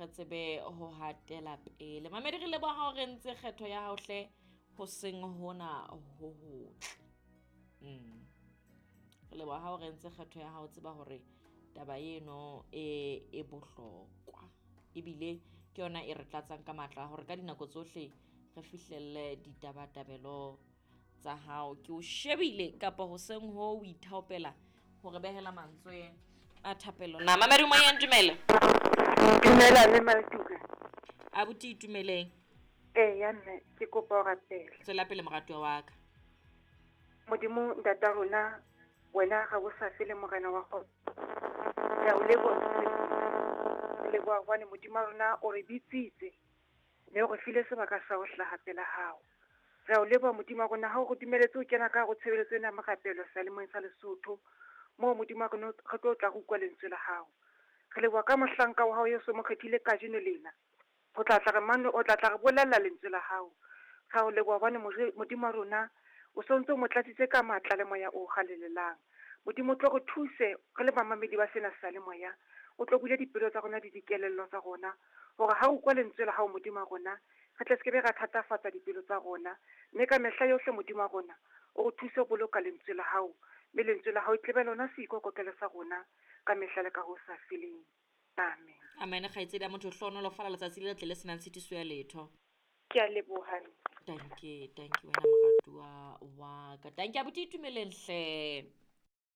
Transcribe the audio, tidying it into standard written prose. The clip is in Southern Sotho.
Re tsebe ho hatela pele. Mamedi re leboha ha o re ntse kgetho ya hao hle ho seng hona ho hotle. Re leboha ha o re ntse kgetho ya hao, tseba hore taba eno e bohlokwa. Ebile ke yona e re tlatsang ka matla hore ka dinako tsohle re fihlelle ditabatabelo tsa hao. Ke o shebile kapa hoseng ho o ithaopela hore behela mantswe a thapelo. Na mamedi moyeng, dumela. Dumela mme Maletuka. Abuti itumeleng. Eya mme, ke kopa ho rapela. Tswela pele moratuwa wa ka. Modimo ntata rona, wena ga o sa fele morena wa kgotso. Re a o leboha. Re leboha hobane Modimo wa rona o re bitsitse mme o re file sebaka sa ho hlaha pela hao. Re a o leboha Modimo wa rona ha o re dumeletse ho kena ka hare ho tshebeletso ena ya morapelo seyalemoyeng sa Lesotho. Moo Modimo wa rona re tlo tla re utlwa lentswe la hao. Re leboha ka mohlanka wa hao Yesu mo kgethile kajeno lena. O tla tla re mano, o tla tla re bolella lentswe la hao. Re a o leboha hobane Modimo wa rona o sontso o mo tlatsitse ka matla le moya o halalelang. Modimo o tlo re thuse re le bamamedi ba sena seyalemoya. O tlo bule dipelo tsa rona le dikelello tsa rona hore ha o utlwa lentswe la hao Modimo wa rona, re tle sekebe ra thatafatsa dipelo tsa rona. Mme ka mehla yohle Modimo wa rona o re thuse ho boloka lentswe la hao. Mme lentswe la hao e tlebe lona seikokotlelo sa rona ka mehla le ka ho sa feleng. Amen. Amen. Kgaitsedi ya motho, hlohonolofala letsatsi le letle le senang tshitiso ya letho. Ke a leboha. Danke, danke wena moratuwa wa ka. Danke abuti itumeleng hle.